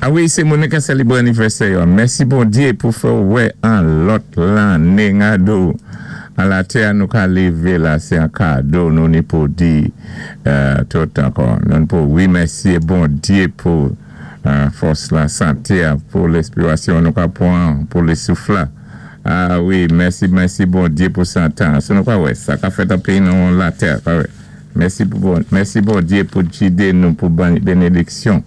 A wi, sé moun ka sélibwé anivèsè yo. Mèsi Bondyé pou fè wè an lòt lanné ngado. An latè nou ka lévé la, sé an kado nou ni pou di tout ankò. Nou pou wimèsyé Bondyé pou fòs la, santé a, pou lespirasyon nou ka pwan, pou lé souf la. A wi, mèsi, mèsi Bondyé pou santan. So nou ka wè, sa ka fèt an péyi nou latè, pa wè. Mèsi pou bon, mèsi Bondyé pou jidé nou pou ban benediksyon,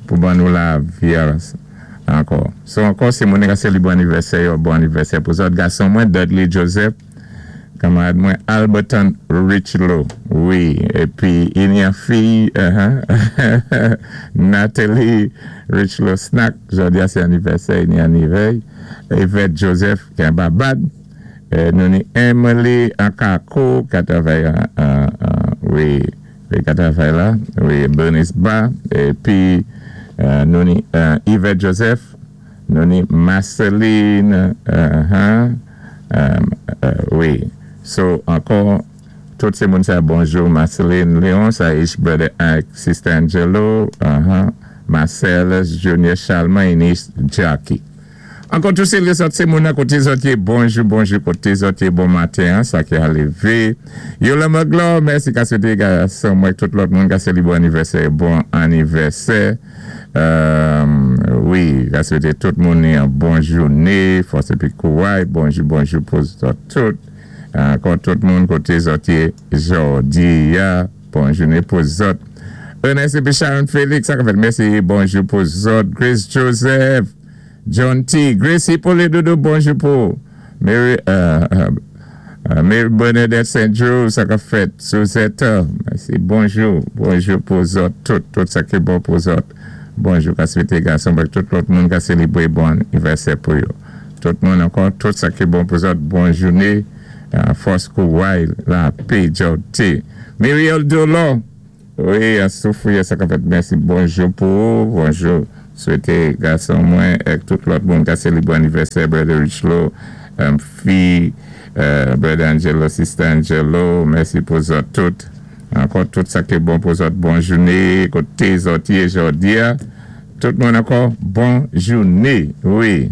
pou ban nou lavi ankò. So ankò sé moun ka sélibwé anivèsè yo, bon anivèsè pou zòt. Gason mwen Dudley Joseph, kanmarad mwen Alberton Richlow, wi, épi i ni an fiy Nathalie Richlow Snack, jòdi a sé anivèsè i ni anivèy. Yvette Joseph ki an Babad. Nou ni Emily Akako ka travay wi, ka travay la wi, Bernice Ba, épi nou ni Yvette Joseph, nou ni Marceline, wi. So ankò tout sé moun sa bonjou Marceline Leon sa ish brother ak sister Angelo, Marcellus Junior Chalman, Inis Jackie. Ankò tou sé lézòt sé moun an koté zòt yé, bonjou bonjou koté zòt yé, bon maten an sa ki a lévé. Yola Maglor, mèsi ka swété gason mwen tout lòt moun ka sélibwé anivèsè, bon anivèsè. Wi, ka swété tout moun ni an bon jouné, fòs épi kouray, bonjou bonjou pou zòt tout. Ankò tout moun koté zòt yé jòdi a, bon jouné pou zòt. Ernest épi Sharon Félix, sa ka fèt, mèsi, bonjou pou zòt. Grace Joseph, John T. Grace Hippolyte Doudou, bonjou pou Mary, Mary Bernadette St. Drew, sa ka fèt, Suzette, mèsi, bonjou, bonjou pou zòt tout, tout sa ki bon pou zòt. Bonjou ka swété gason ak tout lòt moun ka sélibwé bon anivèsè pou yo. Tout moun ankò, tout sa ki bon pou zòt, bon jouné, fòs kouray, lapé, jòté. Muriel Dolor, wi, an soufri sa ka fèt, mèsi, bonjou pou ou, bonjou. Swété gason mwen ak tout lòt moun ka sélibwé anivèsè Brother Richlow, fi Brother Angelo, Sister Angelo, mèsi pou zòt tout. Ankò tout sa ki bon pou zòt, bon jouné, koté zòt yé jòdi a. Tout moun ankò, bon jouné, wi.